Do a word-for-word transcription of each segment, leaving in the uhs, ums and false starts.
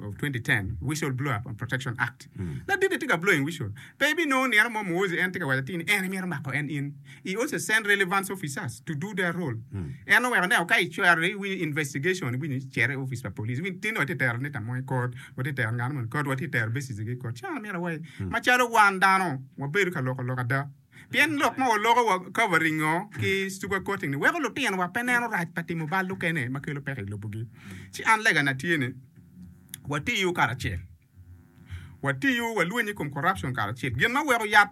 of twenty ten Whistle Blower Protection Act. Ladit tye ka blowing whistle. Pe ibinongo nino mo Muhoozi en tye ka waco atir ni en emito mako en in. He also send relevant officers to do their role. En oweko ne ka icwero iwinyo investigation iwinyo cito i office pa police. Iwinyo tin watye tero Anita mo i court, watye tero ngat mo i court, watye tero Besigye i court. Ci an amito awaci macalo wan dano wabedo ka loko lok ada. Pien lok ma waloko wa covering o ki sugar coating ni weko lutinowa pe neno rac pa timo bal lukene ma kelo peko i lobogi. Ci an legana tye ni watiyo karacel. Watiyo walwenyo i kom corruption karacel. Gin ma weko yat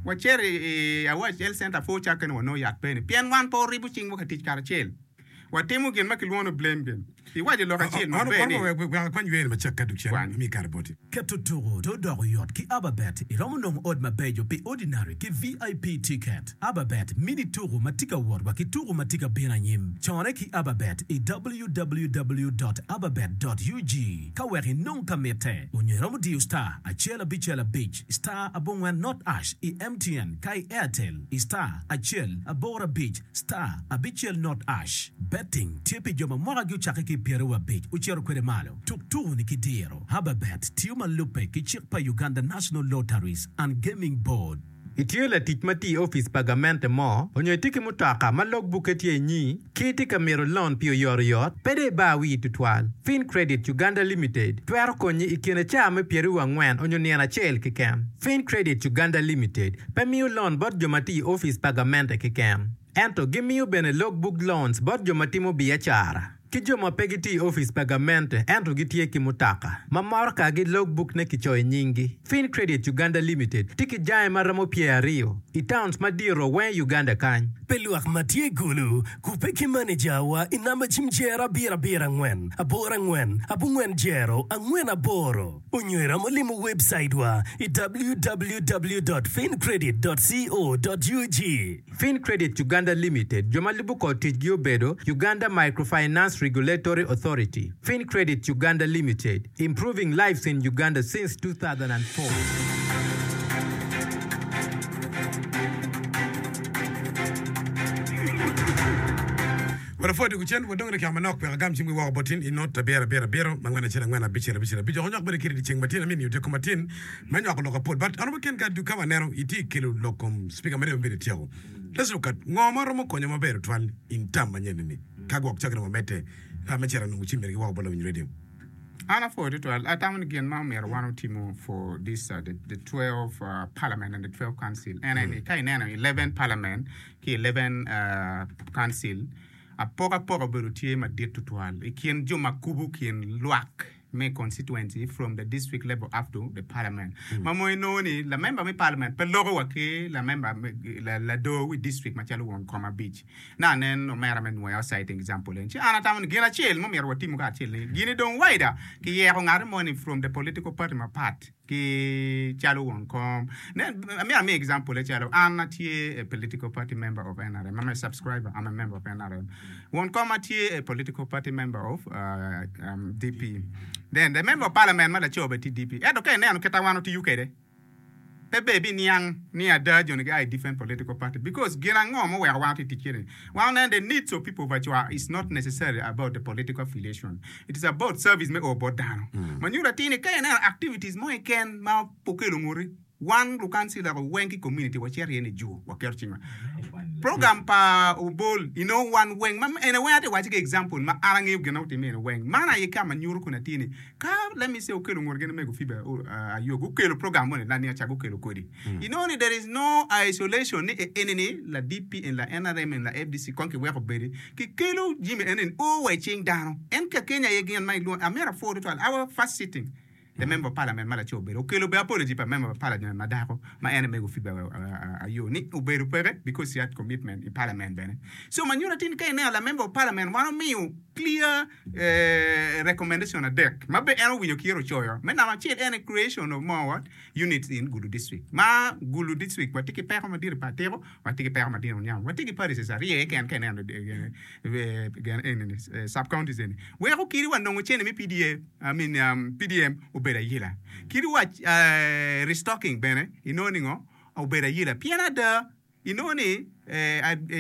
wacito i Awac Health Center pur cakke ni wanongo yat pe ni pien wan pe waribo cingwa ka tic karacel. Watimo gin ma kilwongo ni blame game. Iwaco lok acel maber ni. Wek akwany wer macek ka dok cen Kwany. ami kare boti. Keto tuku to doko yot ki Ababet. Iromo nongo ot mabeco pi ordinary ki V I P ticket. Ababet mini tuku ma tye ka wot wa ki tuku ma tye ka bino anyim. Cone ki Ababet i W W W dot ababet dot U G ka wek inong ka mitte. Onyo iromo diyo star acel abicel abic star abongwen not hash i M T N ka i Airtel i star acel aboro abic star abicel not hash. Betting tye pi jo ma mwakagi ocakke ki i pyeraryo abic ocito kwede malo. Tuk tuku-ni ki diro. Ababet tiyo ma lubbe ki cik pa Uganda National Lotteries and Gaming Board. Itye latic ma tye i opic pa gamente mo, onyo itye ki mutoka ma logbukke tye inyi, ki itye ka mito loan pi oyotoyot, pe dong ibar wii tutwal. FinCredit Uganda Limited twero konyi i kine caa me pyeraryo angwen onyo nino acel keken. FinCredit Uganda Limited pe miyo loan bot jo ma tye i opic pa gamente keken, ento gimiyo bene logbook loans bot jo ma timo biacara ki jo ma pe gitye i opic pa gamente ento gitye ki mutoka ma motokagi logbook ne kicoyo i nyinggi. FinCredit Uganda Limited tye ki jange ma romo pyeraryo i towns madito weng i Uganda kany. Pi lwak ma tye i Gulu, kubbe ki manejawa i namba cim jero abiro abiro angwen aboro angwen abongwen jero angwen aboro onyo iromo limo website wa i W W W dot fincredit dot co dot U G. FinCredit Uganda Limited jo ma lubo kor ticgi obedo Uganda Microfinance Regulatory Authority. FinCredit Uganda Limited, improving lives in Uganda since two thousand four. Wada pwod kucen wadong dakika manok wek agam cim gi woko botin i not abiro abiro abiro angwen acel angwen abicel abicel abic oko nywak bene kiri dyeceng matin amini odyeko matin me nywako lok apol, but an ken ka ka waneno itye kelo lok kom speaker mere mabedo tyeko. Let's look at ngo ma romo konyo maber twal in tam manyen ni ka gwok cakre wamedde me cito nongo cim mere gi woko bot lawiny radio. An apwoyo tutwal. Atamo ni gin ma omyero wan otimo for this uh, the, the twelve uh, parliament and the twelve council en aye ni ka ineno eleven parliament ki eleven uh, council, apokapoka obedo tye madit tutwal i kin jo ma kubo kin lwak me constituency from the district level up to the parliament, ma mo inongo ni la member me parliament pe loko wa ki la member me- la, la do wi district macalo won kom abic na nen omera me nwoya citing example en. Ci an atamo ni gin acel mo myero watimo ka acel ni gini dong waida kiyeko ngati mo ni from the political party mapat ki calo won kom ne. Amyero ami example e calo an atye a political party member of N R M. I'm a subscriber, I'm a member of N R M. Won kom atye a political party member of uh, um, D P. Then the member of parliament ma laco be tye D P, ento ka ineno kita wan otiyo kwede pe be biniang ni ada joni gia i different political party, because gin ango moweko wan oti tic kede wan oneno the needs of people of Acwa is not necessarily about the political affiliation, it is about service me o bot dano. Manyuto atir ni ka ineno activities mo keken ma okelo nguti wan lukancila weng ki community wacito iye ni juo waketo cingwa program pa obol ino wan weng ma ene weng ate waci ki example ma an angeyo gin ma otime ene weng man aye ka ma nyuto kun atir ni ka, let me say, okelo ngut gin mego Phoebe uh, ayo gukelo program mo ni la ni aca gukelo kodi you know ni there is no isolation ni eni ni la D P en la N R M en la F D C kon kiweko bedi kikelo jimi eni ni o wa i cing dano en ka Kenya aye gin ma ilwongo. Amyero apwo tutwal our first sitting, the member of parliament ma laco obedo okelo be apology pa member of parliament ma dako ma en mego Phoebe ayo ni obedo peke because he had commitment i parliament bene. So manyuto atir ni ka ineno la member of parliament wan omiyo clear eh, recommendation adek ma be en owinyo kiro coyo me namba acel en creation of more what units in Gulu district, ma Gulu district watye ki peko madit i Patiko, watye ki peko madit i Onyama, watye ki parishes aryo keken ka ineno eh, eh, gen- enini, eh, sub counties eni weko kiri wa nongo cene me P D A, I mean, um, P D M obedo ayila kiri wa uh, restocking bene inongo ni ngo obedo ayila pien ada. Inongo ni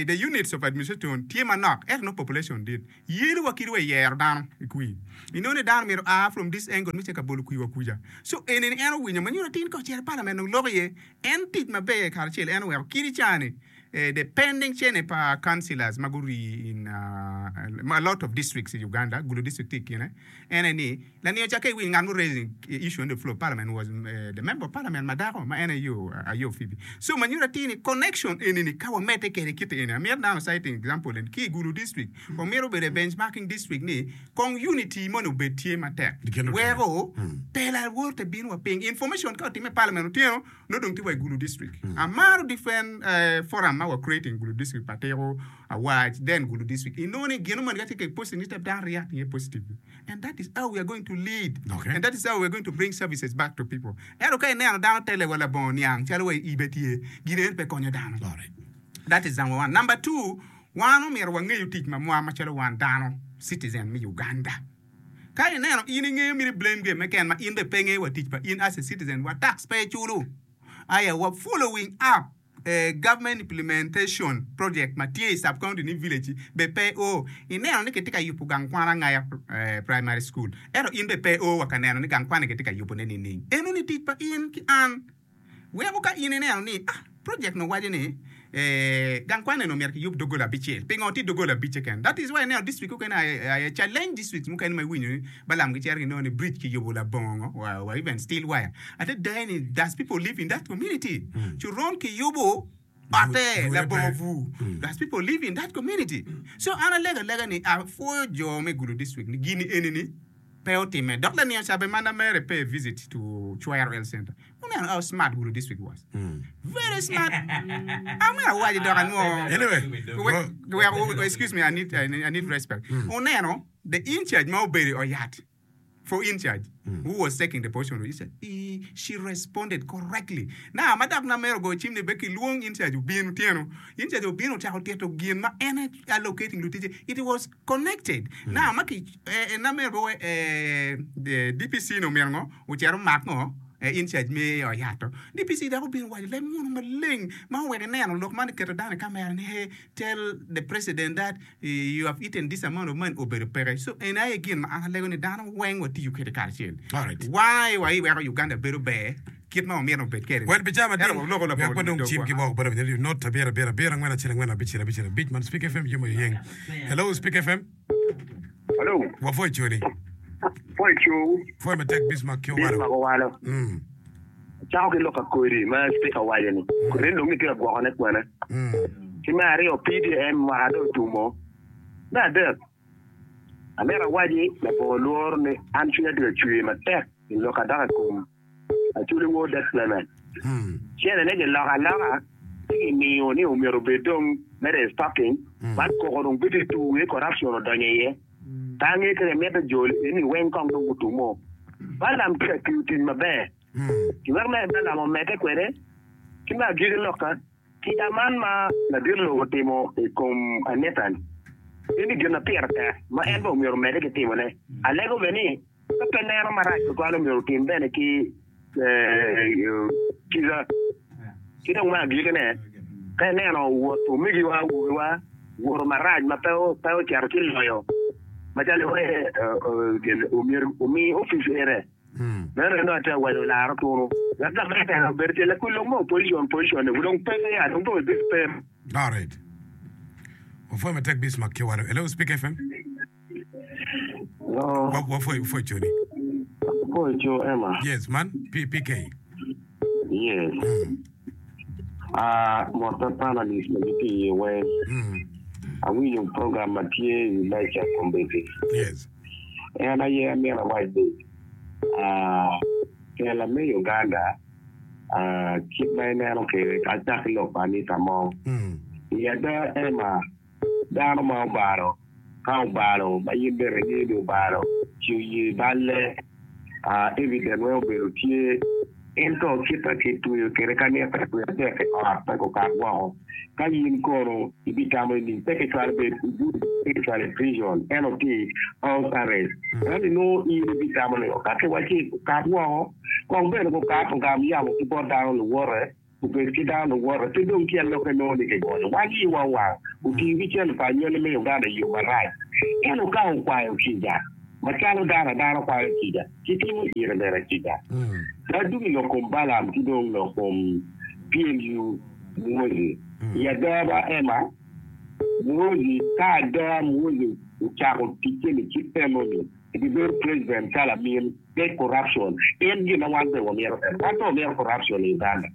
the units of administration tye manok ento nongo population dit. Yelo wa kadi wa i yero dano i kwir. Inongo ni dano myero oa from this angle me cito ka bolo kwir wa kuca. So eni ni en owinyo ma nyuto atir ni ka ocito i parliament dong loko iye. En tic maber karacel en oweko kadi cani the pending cene pa councillors ma gurii in a lot of districts i Uganda, Gulu district tye i kine, en aye ni laniyo ca ka iwinyo ngat mo raising issue on the floor of parliament was the member of parliament ma dako ma en aye Ayo Phoebe. So ma nyuto atir ni connection eni ni ka wamedde kede kite eni amito dano citing example eni ki i Gulu district wamito bedo i benchmarking district ni kong unity moni obed tye matek weko tela wote bino wa piny information ka otime i parliament otyeno nongo dong tye wa i Gulu district. Amaro different forum ma wa creating Gulu district pa tiko awac then Gulu district inongo ni gino moni ka tye ka posting ni dano react iye positively and that is how we are going to lead okay. and that is how we are going to bring services back to people. Ento ka ineno dano tele wa labongo niang calo wa ibe tye gin eni pe konyo dano. Right. That is number one. Number two, wan omyero wangeyo tic ma mwa macalo wan dano citizen me Uganda. Ka ineno in ingeyo miti blame game meken ma in bene pe ingeyo wa tic pa in as a citizen wa tax pe iculu aya wa following up government implementation project ma tye i sub county ni village bene pe o ineno ni kitye ka yubo gang kwan angaya primary school ento in bene pe o wa ka neno ni gang kwan ni kitye ka yubo ne nining eno ni tic pa in ki an Weko ka in ineno ni, ah, project ni owaco ni eh, gang kwan eni omyero kiyub doggola abicel. Pingo tye doggola abic keken? That is why ineno district mukene aye challenge districts mukene ma iwinyo ni Balaam gicito ginongo ni bridge kiyubo labongo ngo, wa, wa even steel wire. Adada ni does people live in that community? Coron kiyubo otte labongo bur. Does people live in that community? So an alego alega ni apwoyo jo me Gulu district ni gini eni ni pe otime. Dok laniang cabe ma namere pay visit to Chwero Health Center. Wuneno how smart Gulu district was. Very smart. Amyero awaci dok anwo. Anyway, Wek, wek, excuse me, I need, I need respect. Wuneno the in charge ma obedo i oyat for in charge who was taking the position of in charge, he, she responded correctly. Now, ma dok namero ogoyo cim ni be kilwong in charge obin otyeno. In charge obino ocako tito gin ma en allocating luticce. It was connected. Now, ma ki, eh, namero be we, eh, D P C ni omyero ngo, ocito omak ngo, eh, in charge me oyato. D P C dok obino owaco leb munu maleng ma oweko ineno lok man keto dano i kamera ni hey, tell the president that you have eaten this amount of money obedo peke. So en aye gin ma an alego ni dano weng watiyo kwede karacel. Alright. Why wa iweko Uganda bedo ber kit ma wamito obed kwede ni? Wel pi ca Ento matin, waloko wek labongo wadong cim dogwa. ki woko bot awinyo radio not abiro abiro abiro angwen acel angwen abicel abicel abic man Speak F M yomo yeng. Hello Speak F M. Hello, Wapwoyo coni. pwoyo cowu. Pwoyo matek Bismarck ki Owalo. Bismarck Owalo. Mm. Acako ki lok akodi ma speaker owaco ni kodi ni dong gitye ka gwokone kwene. Mm. Ki me aryo P D M mwaka dong otumo. Me adek, amito awaci labongo lworo ni an cwinya tye ka cwer matek i lok adok i kom Acholi Wod Death Clement. Mm. Cene ne giloko aloka ci gimiyo ni omyero obed dong me restocking man koko dong bedo i tur ni corruption odonyo iye. Pe angeyo ka gimito jol eni weng kong dong gutumo. Balaam tye ka tiyo tic maber. Mm. Giwek me Balaam omedde kwede ki me agikki lokka kica man ma ladit lobo otimo i kom Anita-ni eni gin ma pire tek ma en bene omyero omedde ki timone. Alego bene ni ka pe neno marac tutwal omyero otim bene ki kica. Ki dong me agikkine, ka ineno wot omegiwa awobewa woto marac ma pe ocito ci loyo macalo omyero omi opic ere. Meno en dong atye ka waco laro tunu wek gamente obed tye lakul lok mo opposition position ni dong peke ya dong pe obed pe. Alright. Wapwoyo matek Bismarck ki Owalo. Hello Speak F M. Hello. Wa- Wapwoyo wapwoyo coni. Apwoyo co Emma. Yes man P PK. Yes. Ah, mot pa panelist ma gitye iye weng. Mm. Awinyo program ma tye i lecture kombeddi. Yes. En aye amyero awac ni ah, tela me Uganda ah, kit ma ineno kwede acak ki lok pa Anita Among. Mm. I ada Emma, dano ma obalo, ka obalo ma in bene ingeyo ni obalo, ci oye balle, ah, evidence weng obedo tye, ento kit ma kitweyo kwede ka nito dwe adek i ot pe gukat woko. Ka in kono ibitamo ni pe kicwalo bed pe kicwalo i prison, ento tye i house arrest. Ento inongo in ibitamo ni ka kiwaci okat woko, kong bene gukat ogam yamo ki bot dano luwote, Obed ki dano luwote pe dong tyen lokke nongo ni kigonyo wan iwa wang otiyo ki cente pa anywali me Uganda i yo marac. Ento ka okwayo kica, macalo dano adana kwayo kica, kitimo ire bene kica. Ka dong i lok kom Balaam ki dong lok kom P L U Muhoozi, i ada ba Emma, Muhoozi, ka ada Muhoozi ocako ticce-ni kit enoni, ebibedo president calo amin. Pe corruption en gin ma wan pe wamito ento wan pe wamito corruption i Uganda.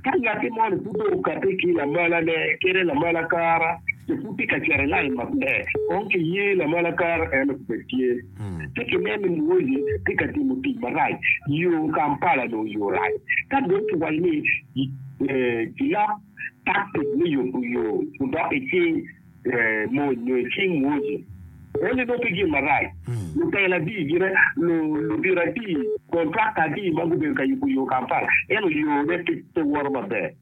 Ka ngatti moni pud dong okati ki lamala ne kede lamala kara ci pud tye ka cito i line maber kong ki ye lamala kara eno obed tye ci ki nen ni Muhoozi tye ka timo tic marac yo Kampala nongo yo rac ka dong ki waco ni kilok tactic me yubo yo odok i cing mony nyo i cing Muhoozi. Eni nongo pe gin marac. Lutela adi gine, ludito adi, kontrakta adi ma gubedo ka yubo yo Kampala, ento yone pe woto maber.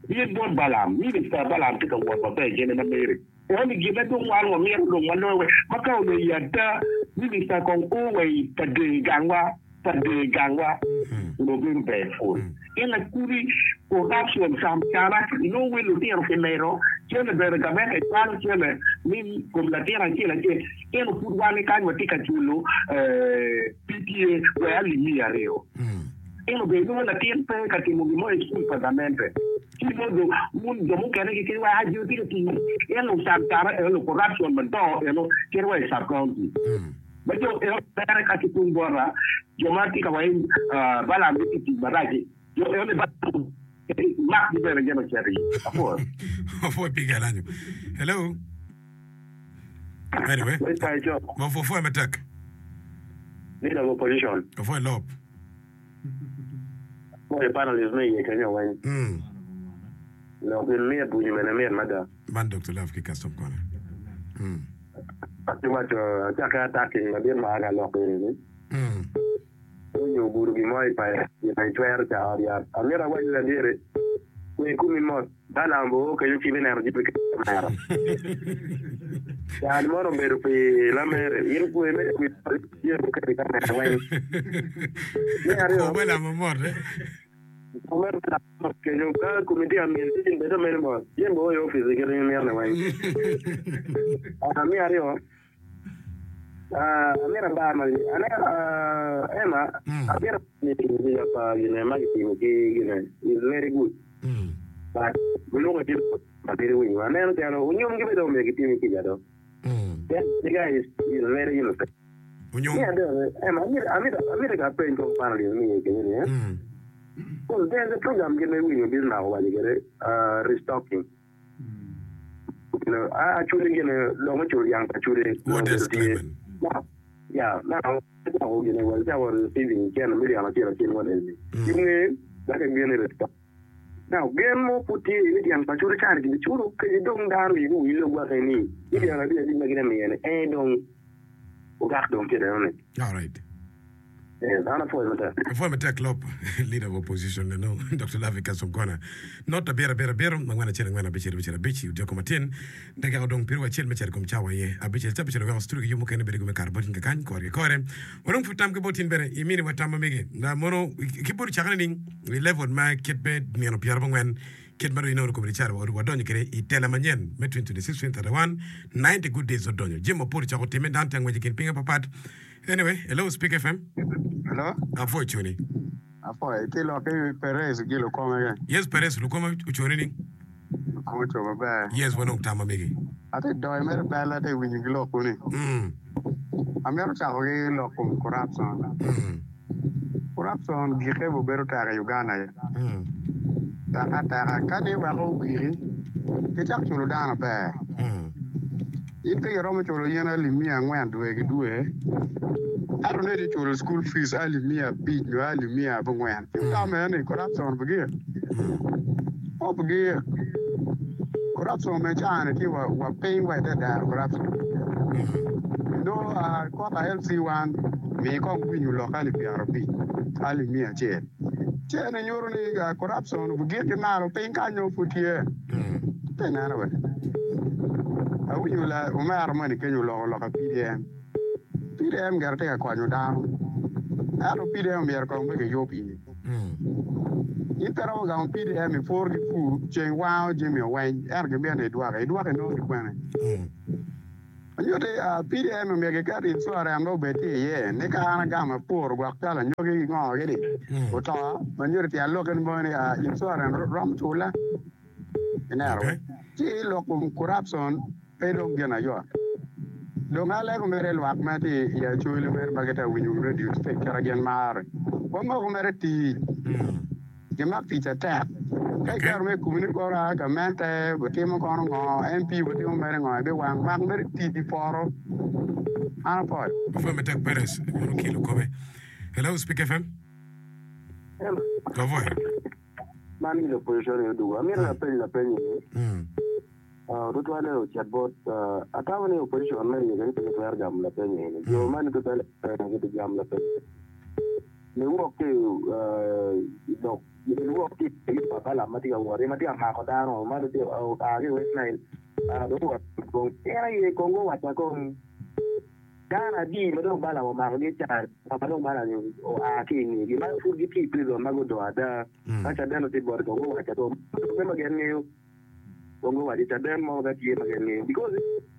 Bin bot Balaam, minista Balaam tye ka wot maber gine ma meri. Eni gin ma dong wan wamito dong waloyo wek ma ka onongo i ada minista kong o wa i pa dee gangwa. Pa dee gangwa onongo bedo ber pwony. En lakudi corruption camcana inongo wel lutino kimedo cene bene gamente cwalo cene ni kom latin acel acel ento pud wan kany watye ka culo P T A wek alip miya aryo ento bene inongo latin pe ka timo gin mo i cukul pa gamente ci nongo dong wun jo mukene kikit wa jo tye ka timo ento camcana eno corruption madongo eno cito wa i sub county. Ma jo eno bene ka ki tung bota, jo ma tye ka waco ni Balaam gitye tic marac-ci, jo eno ni Balaam makgi bene gin ocito iye. Apwoyo. Apwoyo pi galanyo. Hello. Anyway, ma pwoyo matek. Leader of opposition. Apwoyo lop. Apwoyo panelist me iye kenyo weng. Mm. Lok gin mit winyo bene mit mada. Man Doctor Love ki custom kone. Mm. Ci waco acakke attacking ladit ma aga lok eni ni onyo ogudo gin mo i payo gin ma icwero ca ot yat. Amito awaci ladit-ti kwe komi mot Balaam oo kenyo ci ibineno jami ki kamera. Can mono obedo pi lamere in kwe mere kwi jami muketo i kamera weng. Me aryo Kwo Balaam omot eh. Omera Balaam omot kenyo ka komi tye ka myel ci in bed amene mot jami o i opic i kit ma imito ni weng. Ah, me aryo ah, amito abar ma aneno ah, Emma amito kica pa gine ma kitimo ki gine is very good but guluko ki ma bedo winyo aneno calo onyomgi be dong omyero gitimi kica do that the guy is, is very innocent. Onyom. Me adek, Emma amito amito amito ka apeny kong panelist me iye kenyo ni eh. Because there's a program gin ma iwinyo Bismarck owaco kwede ah, restocking. You know, a aculi gine lok me culo dyang pa aculi What onongo does obedo tye. Clement? Now, yeah, now acako gine wa acako receiving cene million acel acel one eni. Inge dok egene restock. Now gen mo pud tye ni dyang pa aculi cani kibiculo kadi dong dano wigi owil ogwake ni ni dyang abic abic ma gin amiyo ni en dong ogak dong kit eno ni. All right. Yes, an apwoyo matek. Apwoyo matek lop leader of opposition eno Doctor Lavi Kasongona. Not abiro abiro abiro angwen acel angwen abicel abicel abic i odyeko matin. Dakika odong piru acel me cito i kom cawa aye abicel ca abicel oweko studio ki yub mukene bedo me kato bot in kakany kore ki kore. Wanong pud tam ki bot in bene imini wa tam ma mege. Na mono ki bot ocakane ning i level ma kit me nino pyerabongwen kit ma dong inongo kome calo wadonyo kwede i tela manyen me twenty twenty-six twenty thirty-one ninety good days odonyo jami mapol ocako timme dano tye angwec i kin pinge papat. Anyway, hello Speak F M. Hello. Apwoyo coni. Apwoyo. Itye lok ki Perez gi lukome ke? Yes, Perez lukome oconi ni. Lukome oco maber. Yes, wanong tam ma megi. Ate doyo mere bel ate winyo gi lok kuni. Mm. Amito cako ki lok kom corruption. Mm. Corruption gike bo bedo tek i Uganda ya. Mm. Tek ateka ka ni weko ogiki kicak culo dano ber. Mm. In pe iromo culo yen alip miya angwen dwe ki dwe, ento ni itye culo school fees alip miya abic nyo alip miya abongwen. Ci wutam ni corruption obigik? Obigik. Corruption me caa-ni tye wa, wa piny wa ite dero corruption. Nongo ah, kota L C one mi kong winyo lok alip pyerabic, alip miya acel. Ci eni nyuto ni ah, corruption obigik ki malo piny kany nongo pud tye. Pe ineno be? Awinyo la omera moni kenyo oloko lok P D M. P D M gire tye ka konyo dano. Ento P D M myero kong me kiyub iye. In pe romo gamo P D M ipur ki pur ceng wango jami oweny ento gimito ni idwoke idwoke inongo ki kwene. Onyutti P D M omyero giket insurance ma obed tye iye ni ka an agamo apuro gwok calo anyogi ki ngo gini oto ma nyutti tyen lokke ni mono ni insurance romo cula ineno ci lok kom corruption pe dong gin ayot. Dong alego mere lwak ma tye i Acholi mere ma gitye ka winyo radio state kit ma gin maro wamoko mere tic gimak tic atek ka iketo mere i komi ni koro a gamente butimo kono ngo M P butimo mere ngo ibiwang mak mere tic i poto an apwoyo. Apwoyo matek Perez mono kilo kome. Hello Speak F M. Hello. Apwoyo. Man gin opposition ni odugo. Amito lapeny lapeny ni. Tutwalle ocit bot atamo ni opposition me Uganda pe gitwero gamo lapeny eni. Jo man tutwalle gibigamo lapeny. Niwok ki lok niwok ki pa Balaam ma tye ka wot ma tye ka mako dano ma oa ki i West Nile dong owot kong en aye kong guwacca kong dano adi ma dong Balaam omakogi ca ma dong Balaam oa ki i ngegi ma pud gitye i prison ma gudong ada ka caden otye bote kong guwacca kong ma gin ngeyo kong guwaco caden mo ka tye ma gin ngeyo because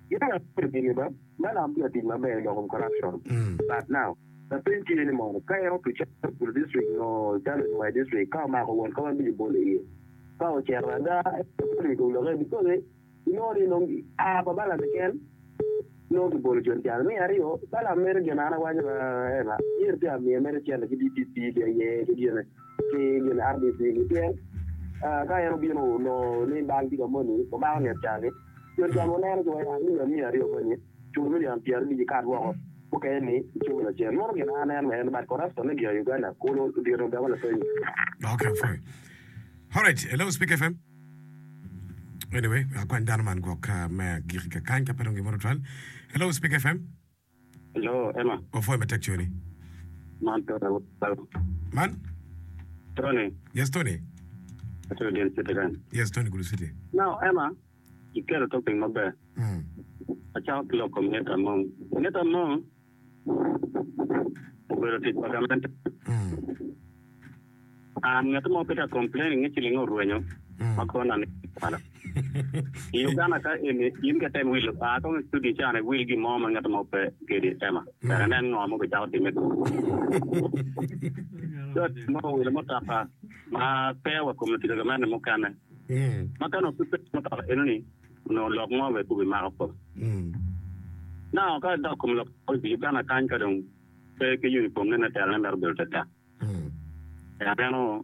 gin gini ba Balaam tye ka tic maber i lok kom corruption but now lapeny tye ni mono ka en otuc Gulu district no calo i my district ka omako won ka wan bici bolo iye ka ocito ada loke because inongo ni nong a pa Balaam keken nongo kibolo jon calo me aryo Balaam mere gin an awaco ema yer tye amiyo mere cente ki D P P ki aye ki gine ki gine R D C ki pien ka en obino onongo ni bal tye ka moni omako nget cani jon cani oneno ci wai amiyo amiyo aryo moni cul million pyera abic ikat woko mukene ni iculo lacen mono gin an aneno en but corruption ne gira Uganda kulu odiro gamo lapeny. Okay, fine. All right, hello Speak F M. Anyway, akwany dano man gwok me agiki ka kany ka pe dong gimoro twal. Hello Speak F M. Hello Emma. Opwoyo matek coni. Man Tony. Man? Tony. Yes Tony. Atero din city kany. Yes Tony Gulu City. Now Emma, iketo topic maber. Mm. Acako ki lok kom ngeta mong. Ngeta mong obedo tic pa gamente. Mm. An ngeta mo pe ta complaining ni ciling orwenyo Mm. ma kona ni kwalo. I Uganda ka eni in ka tem wilo a kong i studio cani wil gi mo ma ngeta mo pe kedi Emma. Tek inen ngo mo bicako time. So mo wilo mutoka ma pe wa kom tic pa gamente mukene. Mm. Ma ka onongo pe mutoka enoni onongo lok mo be kubi mako ko. Mm. Now ka dok kom lok i Uganda kany ka dong pe ki uniform ne ne telo ne mero bedo tetek. Mm. Aneno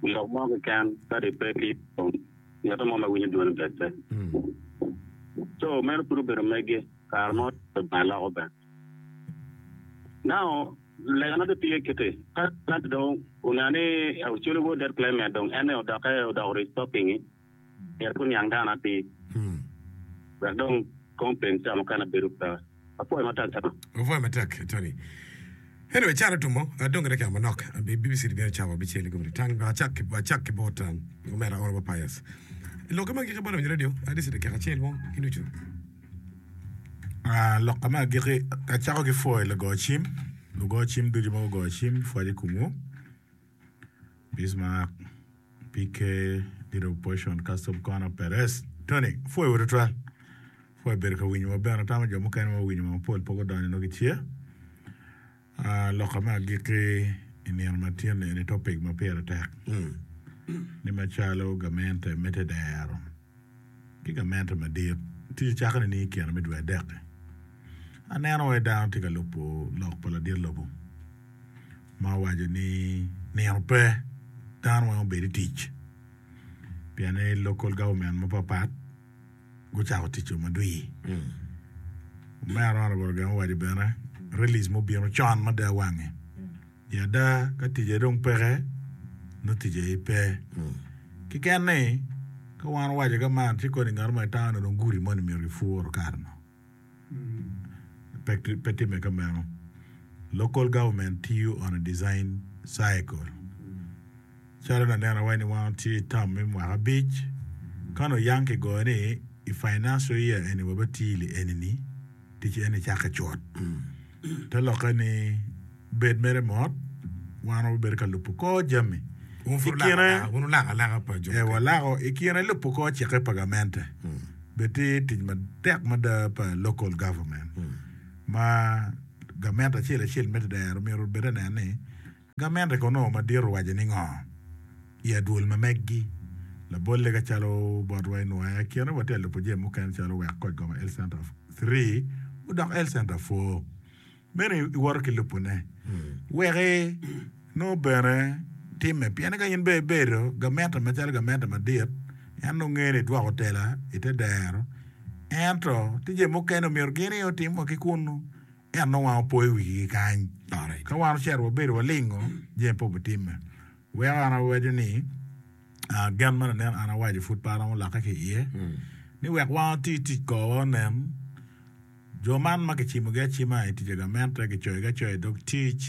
lok mo keken ka di pe ki uniform ng'ato mo ma winyo dwone ber pe. Mm. So meno pud obedo megi kare mo ba loko be. Now legana do tye kiti ka ng'ato dong oneno ni Acholi wod that climate dong en odoke odoko restocking myero pe oniang dano atir. Mm. Wek dong complaint ca mukene bedo pe. Apwoyo matek Emma. Apwoyo matek Tony. Anyway, calo tumo adongo dakika manok B B C bino cawa abicel i gomri tang acak acak ki bot omera Honorable Pius. Lokke ma giki bot winyo radio adisi dakika acel mo ki nucu. Ah, lokke ma giki acako ki pwoyo lugo cim lugo cim ducu ma gugo cim pwoc i komwu Bismarck P K Leader of Opposition Custom Corner Perez Tony pwoyo wa tutwal pwoyo bedo ka winyo wa bene atamo jo mukene ma winyo mapol pe gudonyo nongo gitye. Ah, lokke ma agiki i nino ma tye ni topic ma pire tek ni macalo gamente me tedero ki gamente madit tic cakone ni i kine me dwe adek aneno wa dano tye ka lubo lok pa ladit lobo ma owaco ni nino pe dano weng obedo i tic pien ni local government mapapat gucako tic madwir. Omera Honorable Ogeng owaco bene release mobino con mada wange i ada ka ticce dong peke nongo ticce aye pe kiken ni ka wan owaco ka man ci koni ngat mo itamo ni dong gudi moni myero gipuro kare no pe pe timme ka meno local government tiyo on a design cycle calo naneno awaco ni wan tye i term me mwaka abic ka nongo yang kigoyo ni i financial year eni wabati li eni ni tic eni cake cut te lokke ni bed mere mot Wan wabedo ka lubo kor jami. Wun I pud kine, wulako alaka, wun wulako alaka pa jo eh, mukene. walako i kine lubo kor cikke pa gamente. Bed tye tic matek mada pa local government ma gamente acel acel me tedero myero obed anen ni gamente kono madit owaco ni ngo i adwol ma meggi labolle ka calo botwa i Nwoya kine watye ka lubo jami mukene calo wek koc goma health center three odok health center four meno iwoto ki lubone weki nongo bene timme pien ka in bene ibedo gamente macalo gamente madit en nongo ngeyo ni idwoko tela ite dero ento tye jami mukene myero gin aye otim wa ki kunu ento nongo wan opoyo wigi kany Alright. ka wan ocito wabedo walingo jami pe obitimme weko an awaco ni ah, gen ma lanen an awaco pud pe aromo lokke ki iye ni wek wan oti tic korwa onen jo man ma kicimogi acima i tic pa gamente kicoyogi acoya i dog tic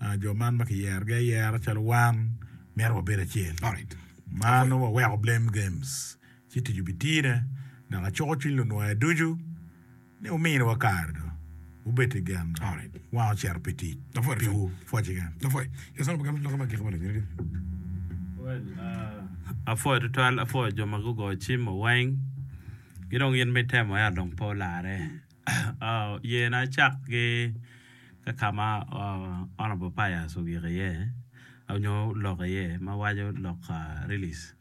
ah, jo man ma kiyerogi ayera calo wan myero wabed acel Alright. ma nongo waweko blame games ci tic obitine dok acuko cwiny lunwoya ducu ni ominiwa kare do wubed i gen do Alright. wan ocito pi tic Apwoyo piwu pwoc keken Apwoyo. Yes, honorable Gamente loko ma giko ma lonyere. Well, uh, apwoyo tutwal apwoyo jo ma gugoyo cim weng ki dong in mitemo ento dong pe olare uh, yena acak ki ka kama uh, honorable Pius ogiko iye onyo oloko iye ma waco lok uh, release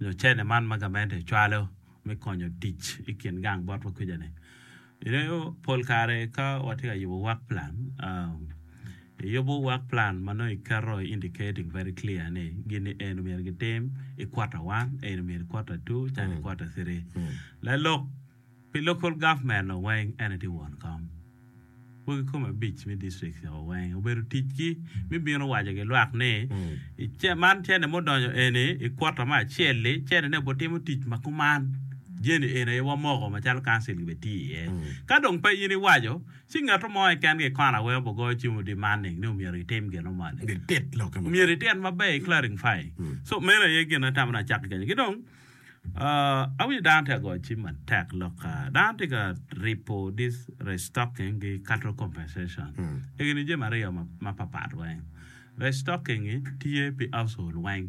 nyo cene man ma gamente cwalo me konyo tic i kin gang botwa kuca-ni ineno pol kare ka watye ka yubo work plan um, iyubo work plan ma nongo iketo indicating very clear ni gini eni myero gitim i quarter one eni myero i quarter two calo i quarter three lalok pi local government no weng ene tye won kom wegi kome abic me district o weng obedo ticgi mi bino waco ki lwak ni i ce- man cene mudonyo eni i quarter me acel-li cene ne obitimo tic ma kuman jeni eni aye wamoko macalo council gibe tiyo iye ka dong pe in iwaco ci ngato mo keken ki kona weng obigoyo cim demanding ni myero gitim gino moni Gitit lokke ma. myero itit maber i clarify so meno aye gin atamo ni acak ki kenyo ki dong uh, awinjo dano tye ka goyo cim matek lok uh, dano tye ka ripo this restocking ki cattle compensation egini jami aryo ma- mapapat weng restocking tye pi household weng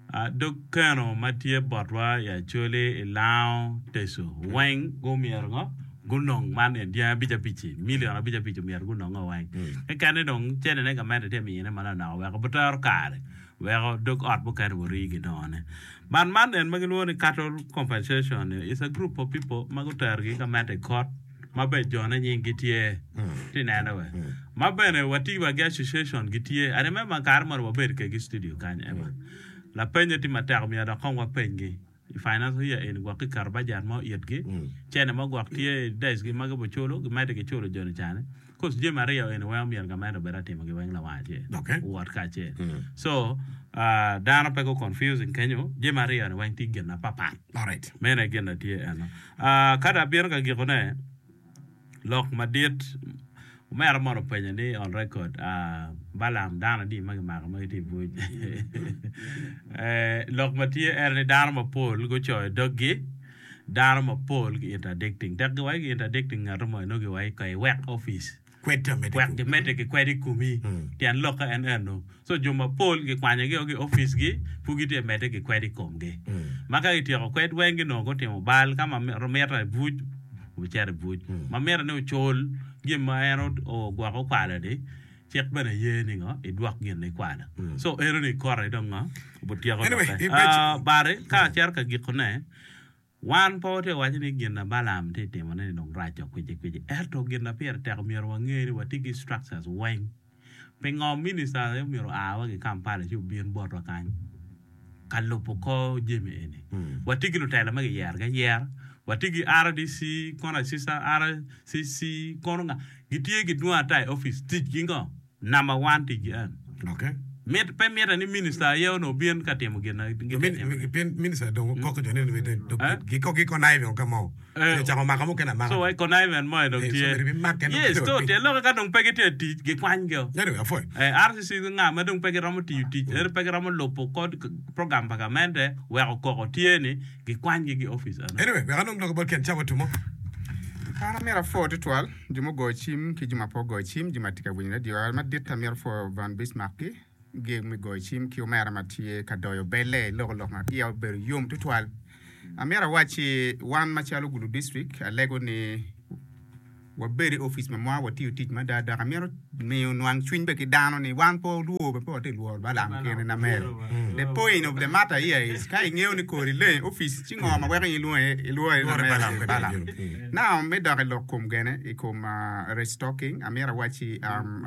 Uh, dog keno ma tye botwa i Acholi i Lango Teso weng gumyero ngo gunong man en dyang abic abic-ci million abic abic omyero gunongo weng keken ni dong cenene gamente tye miyone manok weko pe tero kare weko dog ot mukene ori ginongone man man en ma gilwongo ni cattle compensation is a group of people ma guterogi gamente i court ma bene jone nyinggi tye tye neno we ma bene watye wa gi association gitye I remember kare moni wabedo kegi i studio kany ema lapenye tye matek omyero dok kong wapenygi i financial year eni gwok kiketo budget mo itgi cene mo gwok tye i desk gi ma gibiculo gimedde giculo joni cani cause jami aryo eni weng omyero gamente obed atimogi weng lawang acel Okay. owot kacel so uh, dano pe go confusing kenyo jami aryo ni weng tye gin mapapat Alright. meno aye gin na tye eno uh, ka dong abino ka gikone lok madit omera mono openyo ni on record uh, Balam dano adi ma gimako ma gitye i buc eh, lok ma tye en ni dano mapol gucoyo doggi dano mapol gi interdicting tek giwaco gi interdicting ngato mo eno giwaco ka iwek office Kwed amede wek gimedde ki kwed i komi tyen lokke en eno so jo mapol gikwanyogi o ki office gi pud gitye medde ki kwed i komgi ma ka gityeko kwed weng ginongo gutimo bal ka ma mitte i buc obicito i buc ma mitte ni ocul gin ma en ogwoko okwalo-ni cik bene ye ni ngo idwok gin ikwalo so eno ni kote dong ngo obityeko Anyway, lokke i pec- Ah, bari ka acito ka gikone wan pe watye ka waco ni gin na Balaam tye timone ni dong rac o kwici kwici ento gin na pire tek myero wange ni watye ki structures weng pingo minister aye myero oa wa ki Kampala ci obin botwa kany ka lubo kor jami eni watye ki lutela ma giyerogi ayera watye ki RDC kono assistant RCC kono nga gitye gidwong ata i office ticgi ngo number one ticgi en Okay. Mit, pe mitte ni minister aye onongo obin ka timo gin na gitye Min- timone. min- Pien minister dong koko jo ni Eh? giko gi conniving ka mo. Eh, Ocako mako mukene amaka. So conniving mo dong Eh, so tye. myero ibimake dong Yes, tye to piny. tye lokke ka dong pe gitye tic gikwanygi. Anyway, apwoyo. Eh, RCC nga ma dong pe giromo tiyo tic, ento pe giromo lubo kod program pa gamente weko koko tye ni gikwanygi ki office eno. Anyway, wek anong loko bot Ken Cawa tumo. An amyero apwo tutwal jo mugoyo cim ki jo ma pe ogoyo cim jo ma tye ka winyo radio madit amyero apwo Van Bismarck-ki gi me goyo cim ki omera ma tye ka doyo belle iloko lok ma iya obedo yom tutwal. Amyero awacci wan macalo Gulu District alego ni wabed i opic ma mwa watiyo tic mada dok amito miyo nwang cwiny bene ki dano ni wan pe walwor bene pe watye lworo Balaam kene na mere. The point of the matter here is ka ingeyo ni kori leng i opic ci ngo ma weko in ilwongo ilwore na mere Balaam. Now me dok i lok kom gene i kom uh, restocking amito awacci um,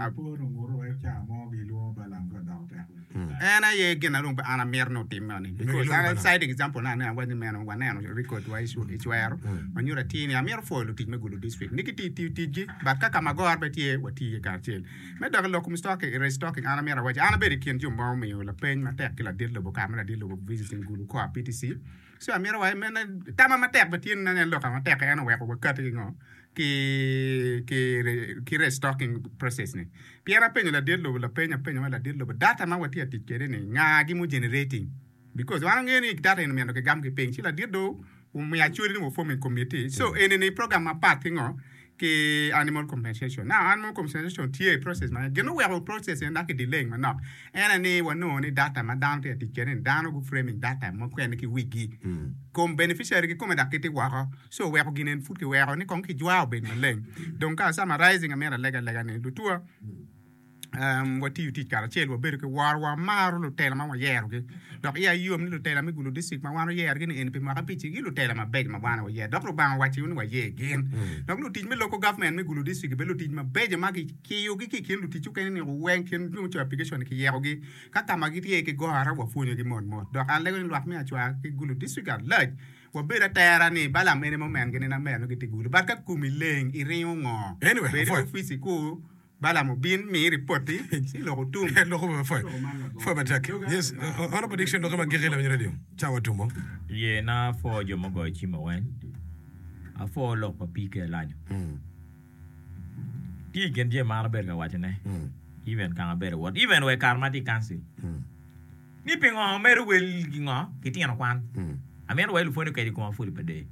En aye gin na dong pe an amito ni otimme ni because an citing example na aneno awaco ni meno waneno record wa i cwero ma nyuto atir ni amito pwoyo lutic me Gulu district ni gitye tiyo ticgi but ka ka ma goro pe tye watiyo iye kacel. Me dok i lok kom stocking, restocking an amito awaci an abedo i kin jo ma omiyo lapeny matek ki ladit lobo kare ma ladit lobo visiting Gulu Koa P T C so amito awaci mene tama matek bene tye ni aneno lok matek en oweko wakati ki ngo ki ki ki restocking process ni pien apenyo ladit lobo lapeny apenyo ma ladit lobo data ma watye ka tic kwede ni nga-gi mu generating because wan wangeyo ni data eni myero kigam ki piny ci ladit do omiyo acholi ni wa forming committee so eni ni program mapat ki ngo ki animal compensation now animal compensation tye i process ma gin oweko process eni dok ki delaying manok en aye ni wanongo ni data ma dano tye ka tic kwede ni dano gu framing data mukene ki wigi kom beneficiary kikome dok gitye woko so oweko gin eni pud kiweko ni kong kijwa obed maleng dong ka summarizing amyero aleg alega ni lutua um, watiyo tic karacel wabedo ki woro wamaro lutela ma wayerogi dok iya yom ni lutela me Gulu district ma wan oyerogi ni eni pi mwaka abic gi lutela mabeco ma wan wayero dok Lubanga owaco ni wayer gin dok lutic me local government me Gulu district gibedo lutic mabeco ma gikiyogi ki i kin lutic okene ni weng kin jo mucoyo application kiyekogi ka ka ma gitye ki goro wapwonyogi mot mot dok an lego ni lwak me acwar ki Gulu district at large wabedo atera ni Balaam ene mo men gini na mer nongo gitye Gulu but ka komi leng iringo ngo Anyway, bed i apwoyo. opici ku Balaam obin mi ripoti ci lok otum. Loko be apwoyo. Pwoyo matek. Yes, uh, Honorable Dickson loko ma giki lawiny radio. Cawa tumo. Ye na apwo jo mugoyo cim weng apwo lok pa P K Lanyo tye i kin jami ma an abedo ka wacone even kang abedo wot even wa i kare ma atye i council ni pingo medo wel ki ngo ki tino kwan amito wa lupwonye okeco i koma pudi pa day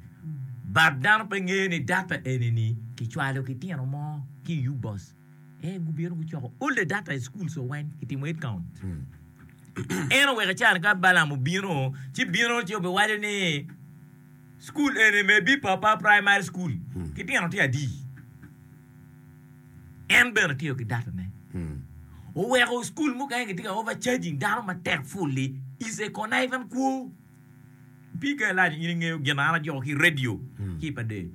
but dano pe ngeyo ni data eni ni kicwalo ki tino mo ki i U B O S eh gubino gucoko all the data i schools o weng kitimo head count en oweko icano ka Balaam obino ci bino ci obiwaco ni school eni may be papa primary school ki tino tye adi en bene tiyo ki data ne oweko school mukene gitye ka overcharging dano matek fully is a connivance kwo P K Lanyo in ingeyo gin an ajoko ki radio ki pa del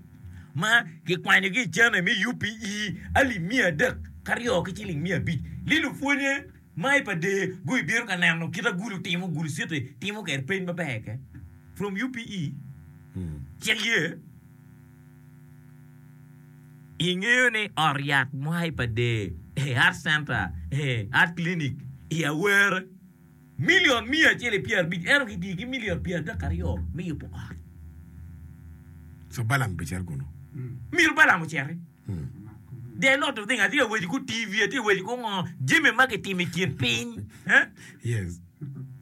ma kikwanyo ki i cene me U P E alip miya adek karyo ki ciling miya abic li lupwonye ma i pa del gubino ka neno kita Gulu timo Gulu City timo kwede peny maber ke from U P E cik ye ingeyo ni ot yat mo i pa del heart center heart clinic i Awere milion miya acel i pyera abic ento kitiyo ki milion pyera adek aryo me yubo ot. So Balaam bicer kunu. Myero Balaam ociti. There are a lot of things. Atye ka weco ku T V, atye ka weco ku ngo, jami ma kitimo i kin piny. Eh? Yes.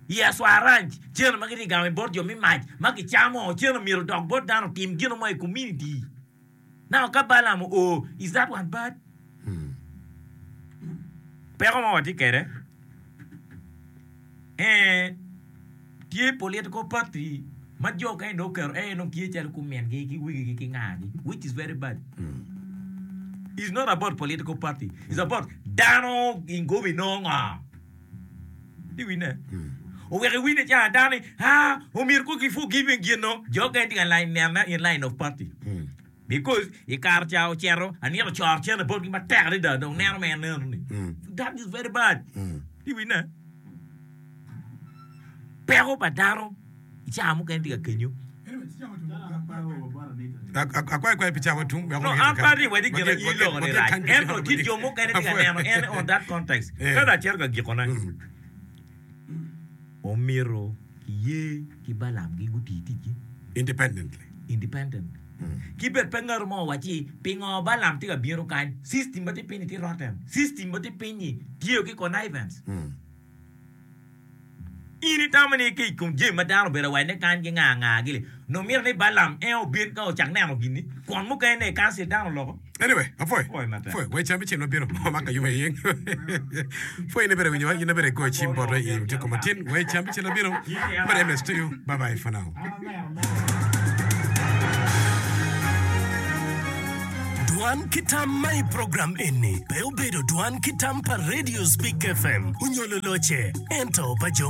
I Aswa Ranch, cene ma gitye ka gamo bot jo me mac ma kicamo, cene myero odok bot dano otim gino mo i community. Now ka Balaam oo, is that one bad? Peko ma watye kwede, eh, tye political party ma jo kany dong oketo eh dong tye calo kumingi ki wegigi ki ngagi, which is very bad. It's not about political party, it's about dano ingobi nongo ngo. Di wine. Oweko iwinyo ca dano ni, ah, omyero ko ki forgiving gino, jo kany tye ka line nene in line of party. Because i kare ca ocito, anito coro cene botgi matek adada dong neno ma en neno ni. That is very bad. Di wine. Peko pa dano i cawa mukene tye ka kenyo. Akwayo kwayo pi cawa tum. No, an pe atye wadi gin i loko ni rac. Ento tye jo mukene tye ka neno en on that context. Ka dong acito ka gikone, omyero kiye ki Balaam gi guti ticgi Independently. Independent. Ki bed pe ngato mo owacci pingo Balaam tye ka bino kany, system ma tye piny-ni tye rotten, system ma tye piny-ni tiyo ki connivance. In itamo ni ki i kom jami ma dano obedo awacone kany ki nga nga gili, nongo mito ni Balaam en obin ka ocak neno gin-ni, kwon mukene i kancil dano oloko. Anyway, apwoyo. Apwoyo matek. Apwoyo. Wai cam bicel mabino ma ka yuma iyeng. Pwoyo in ibere winyowa, in ibere goyo cim botwa i odiko matin. Wai cam bicel mabino. But MS to you. Bye bye for now. Dwan ki tam ma i program eni pe obedo dwan ki tam pa Radio Speak FM onyo loloce, ento pa jo